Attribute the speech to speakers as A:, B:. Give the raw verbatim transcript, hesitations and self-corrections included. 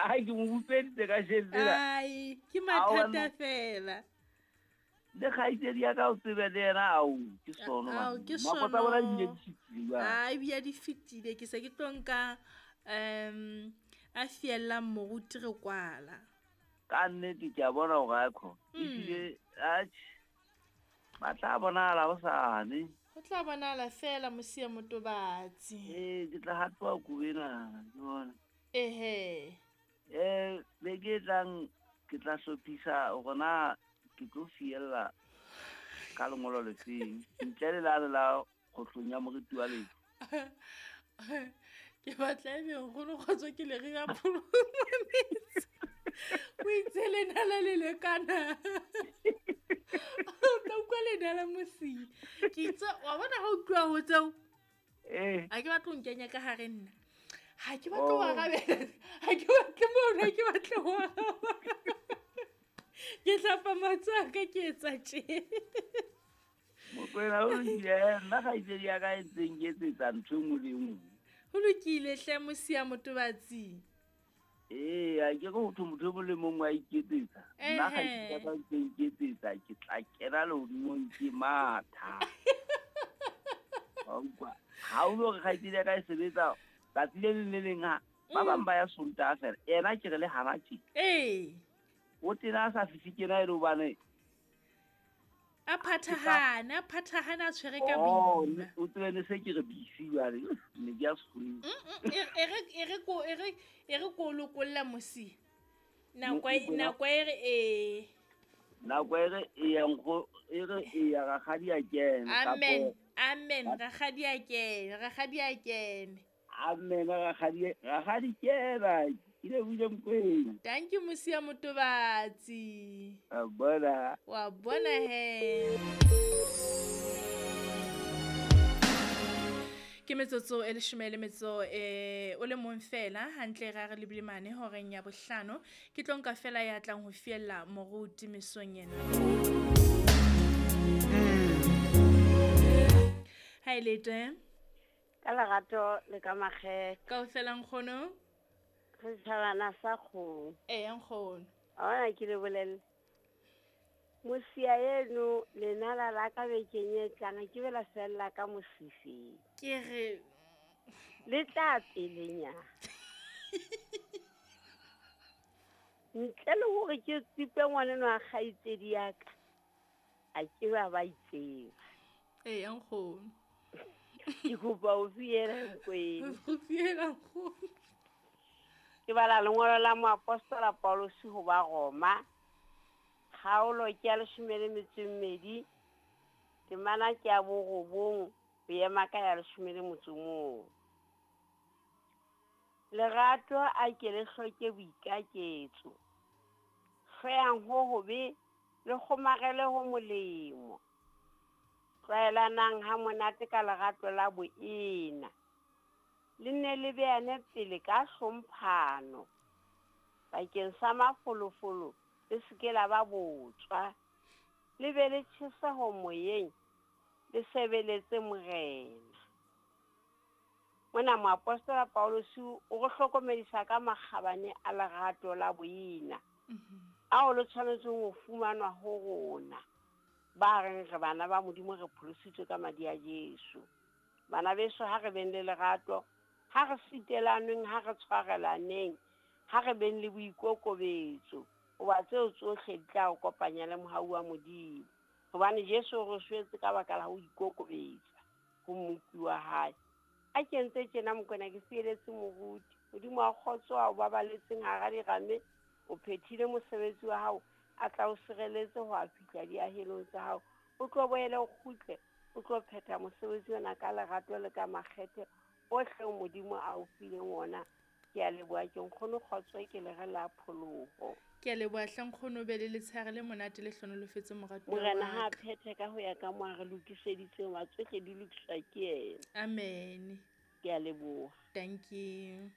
A: Ai ke mo utsweditse ka jeno.
B: Ai ke mathata fela.
A: Le kgaitsedi ya ka o tsebe le yena ao ke sono.
B: Ao ke
A: sono. Nako tsa bona di bile di fetile jwale.
B: Ai bia di fetile ke se ke tlo nka um a fiellang moruti re kwala.
A: Ka nnete ke a bona hore a kho. Ebile atjhe ba tla bonahala hosane.
B: Ho tla bonahala fela Mosia Motobatsi.
A: Eh ke tla hatoa kubena ke bona.
B: Ehe.
A: Eh beke e tlang ke tla hlophisa hore na ke tlo fiella ka lengolo le feng ntle le lane la kgohlong ya moriti wa lefu.
B: Ke batla ebe nkgono kgotso ke le re ya pholo metsi. O itse lenala le lekana. O tla utlwa lenala Mosia. Ke itse wa bona ha o tloha ho tseo.
A: Eh.
B: Ha ke batle ho nkenya ka hare nna. Ha ke batle ho arabela. Ha ke batle mono, ha ke batle ho araba. Ke hlapa matsoho a ka ke etsa tje.
A: Mokwena o lokile, nna kgaitsedi ya ka e ntseng ke etsetsa ntho e nngwe le e nngwe.
B: Ho lokile hle Mosia Motobatsi.
A: Ee, a ke re ho thwe motho e mong le mong wa iketsetsa. Nna kgaitsedi ya ka e ntseng ke etsetsa ke tla kena lehodimong ke matha. Wa utlwa? Ha o lo re kgaitsedi ya ka e sebetsa tsatsi le leng le leng ha ba bang ba ya Sontaha fela, yena ke re le hana tje.
B: Ee.
A: O tena a sa fihle kena e le hobane
B: a phathahane, a phathahane a tshwere ka
A: Oh,
B: boima.
A: o tsebe ne se ke re busy jwale, ne ke ya sekgoweng.
B: E re e re ko e re e re ko lokolla Mosia. Nako e
A: Mokwena.
B: nako e re e.
A: Nako e re e ya nkgo e re e ya rakgadi a kene
B: Amen.
A: kapo
B: Amen. Rakgadi a kene, rakgadi a kene.
A: Amen rakgadi rakgadi kena. Ke lebohile Mokwena.
B: Thank you Mosia Motobatsi.
A: Wa bona.
B: Wa bona he. Ke metsotso e leshome le metso e o le mong fela hantle ra re lebile mane horeng ya bohlano ke tlo nka fela ya tlang ho fiella moruti mesong ena. Ha e le teng.
C: Ka lerato le ka makgethe.
B: Kaofela nkgono.
C: Setjhabana sa kgomo.
B: Eya nkgono.
C: Wa bona ke le bolelle. Mosia eno lenala la ka bekeng e tlang ke be la fella ka mosifeng.
B: Ke re
C: le tla pelenyana. Ntle le hore ke tsipe ngwaneno wa kgaitsedi ya ka, a ke ba ba itseba.
B: Eya nkgono.
C: Ke kopa o fiele Mokwena.
B: O fiela nkgono.
C: Ke bala lengolo la moapostola Paulus ho ba Roma. Kgaolo ke ya leshome le metso e mmedi, temana ke ya borobong, ho ema ka ya leshome le motso o mong. Lerato a ke le hloke boikaketso. Hloyang ho hobe le kgomarele ho molemo. Tlwaelanang ha monate ka lerato la boena. Le nne le beane pele ka hlomphano. Bakeng sa mafolofolo le se ke la ba botswa. Le be le tjheseho moyeng, le sebeletse Morena. Mona moapostola Paulus o re hlokomedisa ka makgabane a lerato la boena. Ao le tshwanetseng ho fumanwa ho rona. Ba reng re bana ba Modimo re pholositswe ka madi a Jesu. Bana beso ha re beng le lerato, ha re sitelaneng, ha re tshwarelaneng, ha re beng le boikokobetso, hoba tseo tsohle di tla o kopanya le mohau wa Modimo. Hobane Jesu o re shwetse ka baka la ho ikokobetsa ho Mmopi wa hae. A ke ntse tjena Mokwena ke fieletse moruti. Modimo wa kgotso a o babaletseng hara dirame, o phethile mosebetsi wa hao, a tla o sireletse ho a fihla diahelong tsa hao. O tlo boele o kgutle, o tlo phetha mosebetsi ona ka lerato le ka makgethe ohle Modimo a o fileng ona. Ke a leboha ke nkgono kgotso ke le re la pholoho.
B: Ke a leboha hle nkgono, be le letshehare le monate le hlonolofetse moratuwa
C: Morena
B: wa
C: ha
B: ka.
C: phethe ka ho ya ka mo a re lokiseditseng, wa tsohle di lokiswa ke yena.
B: Amen.
C: Ke a leboha.
B: Thank you.